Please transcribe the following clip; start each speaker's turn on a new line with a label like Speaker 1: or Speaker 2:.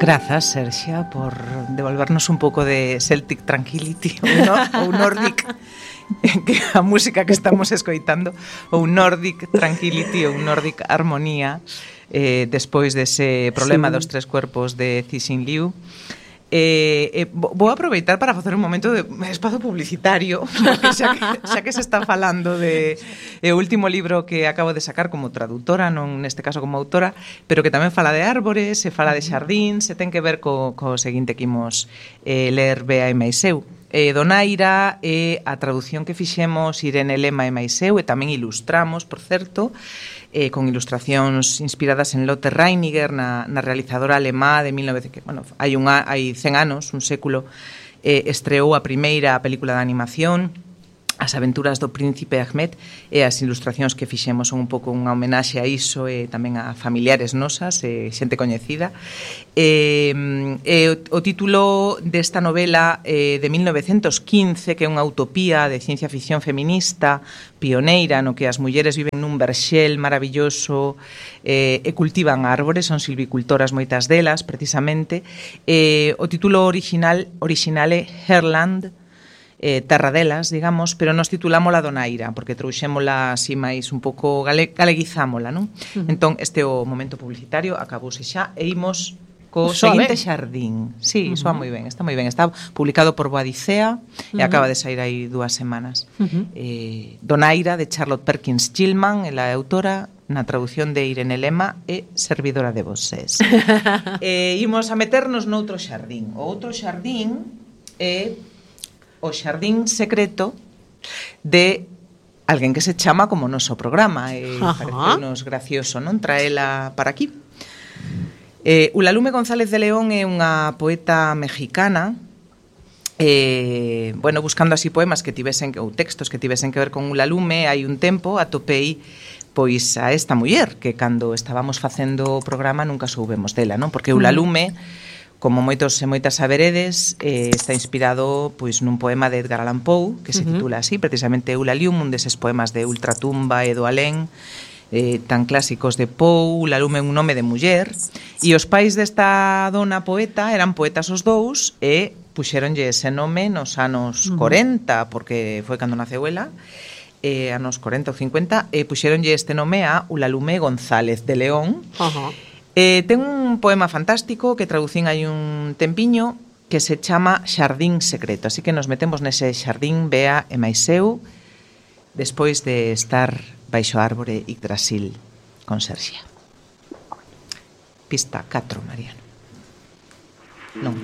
Speaker 1: Grazas, Serxia, por devolvernos un pouco de Celtic Tranquility ou Nordic, que a música que estamos escoitando, ou Nordic Tranquility ou Nordic Armonía, despois dese problema dos tres cuerpos de Cixin Liu. Vou aproveitar para facer un momento de espazo publicitario, porque xa que se está falando de o último libro que acabo de sacar como traductora, non neste caso como autora, pero que tamén fala de árbores, se fala de xardíns, se ten que ver co seguinte que imos ler Bea e máis eu. Donaira é a traducción que fixemos Irene Lema e máis eu, e tamén ilustramos, por certo, con ilustracións inspiradas en Lotte Reiniger, na realizadora alemá de 1900, que, bueno, hai 100 anos, un século, estreou a primeira película de animación, As aventuras do príncipe Ahmed, e as ilustracións que fixemos son un pouco unha homenaxe a iso e tamén a familiares nosas, xente coñecida. O título desta novela de 1915, que é unha utopía de ciencia ficción feminista, pioneira, no que as mulleres viven nun verxel maravilloso e cultivan árbores, son silvicultoras moitas delas, precisamente. O título original é Herland, terra delas, digamos, pero nos titulámola Donaira, porque trouxémola así máis un pouco, galeguizámola, non? Entón, este é o momento publicitario, acabouse xa, e imos co seguinte xardín. Sí, soa moi ben, está moi ben. Está publicado por Boadicea e acaba de sair aí 2 semanas. Donaira, de Charlotte Perkins Gilman, ela é autora, na traducción de Irene Lema e servidora de voces. Imos a meternos noutro xardín. O outro xardín é o xardín secreto de alguén que se chama como o noso programa, e pareceunos gracioso, non? Traela para aquí. Ulalume González de León é unha poeta mexicana, bueno, buscando así poemas que tivesen, ou textos que tivesen que ver con Ulalume, hai un tempo atopei pois a esta muller que cando estábamos facendo o programa nunca soubemos dela, non? Porque Ulalume, como moitos e moitas saberedes, está inspirado pois nun poema de Edgar Allan Poe, que se titula así, precisamente Ulalume, un deses poemas de Ultratumba e do Alén, tan clásicos de Poe. Ulalume é un nome de muller, e os pais desta dona poeta eran poetas os dous, e puxéronlle ese nome nos anos 40, porque foi cando naceu ela, anos 40 ou 50, e puxéronlle este nome a Ulalume González de León. Ten un poema fantástico que traducín hai un tempiño que se chama Xardín Secreto, así que nos metemos nese xardín, Bea e máis eu, despois de estar baixo a árbore Yggdrasil con Serxia. Pista 4, Mariano. Non.